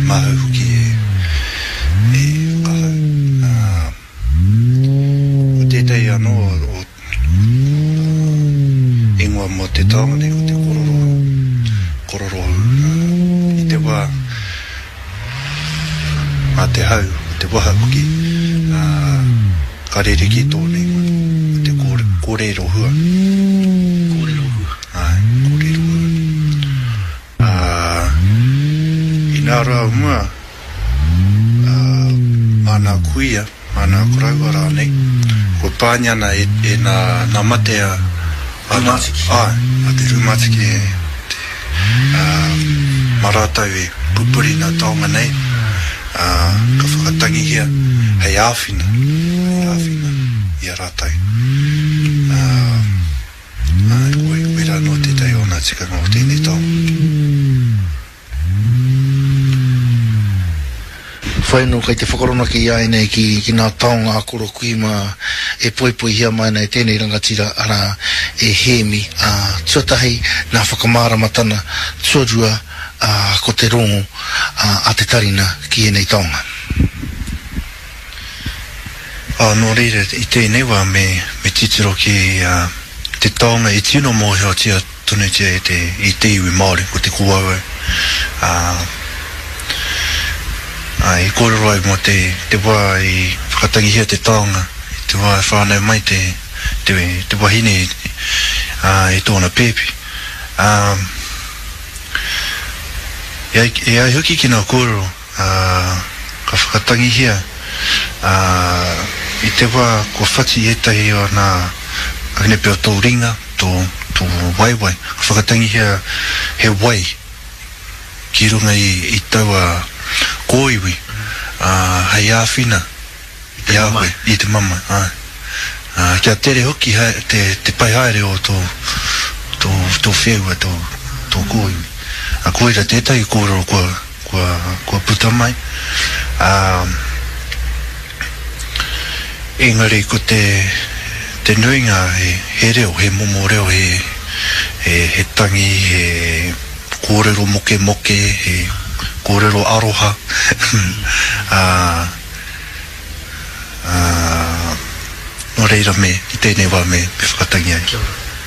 Māhau hoki e, e whakahau. Ā, ko tētahi anō o, o ingoa mō te taonga nei ko te kororohu, kororohu, ā, i te wā a te hau, te waha hoki, ā, ka rerekē tōna ingoa, ko te kōre, kōrerohua. Kōrerohua. Āe, kōrerohua. Ā, inā rā o mua, ā, mā nā kuia, mā nā koroua rānei, kua pāngia ana e, e nā, nā mate a, a nā, Rūmātiki. āe, a te rūmātiki e, te, ā, mā rātou e pupuri nā taonga nei, ā, ka whakatangihia hei āwhina, hei āwhina i a rātou. Ā. Āe, koe, koirā noa tētahi o ngā tikanga o tēnei taonga. Whai anō kei te whakaronaki i a ēnei ki, ki ngā taonga a Koro Kui mā e poipoihia mai ana e tēnei rangatira, arā, e Hēmi, ā, tuatahi nā whakamāramatana, tuarua, ā, ko te rongo, ā, a te tarina ki ēnei taonga. Ā, nō reira, i tēnei wā me, me titiro ki te taonga i tino mōhiotia tonutia e te, i te iwi Māori, ko te kōauau. Ā, ā, i kōrero ai mō te, te wā i whakatangihia te taonga, i te wā i whānau mai te, te, te wahine, ā, i tōna pēpi. Ā, e ai, e ai hoki ki ngā kōrero, ā, ka whakatangihia, ā, i te wā kua whati ētahi o nā kanepe o tō ringa, tō, tō waewae, ka whakatangihia he wai ki runga i, i taua kōiwi, ā, hei āwhina i a koe, i te mamae, āe. Ā, kia tere hoki hae, te, te pai haere o tō, tō, tō wheua, tō, tō kōiwi. Ā, koira tētahi kōrero kua, kua, kua puta mai. Ā, engari ko te, te nuinga he, he reo, he momo reo, he, he, he tangi, he kōrero mokemoke, he kōrero aroha, ā, ā, nō reira me, i tēnei wā me, me whakatangi ai. Kia ora.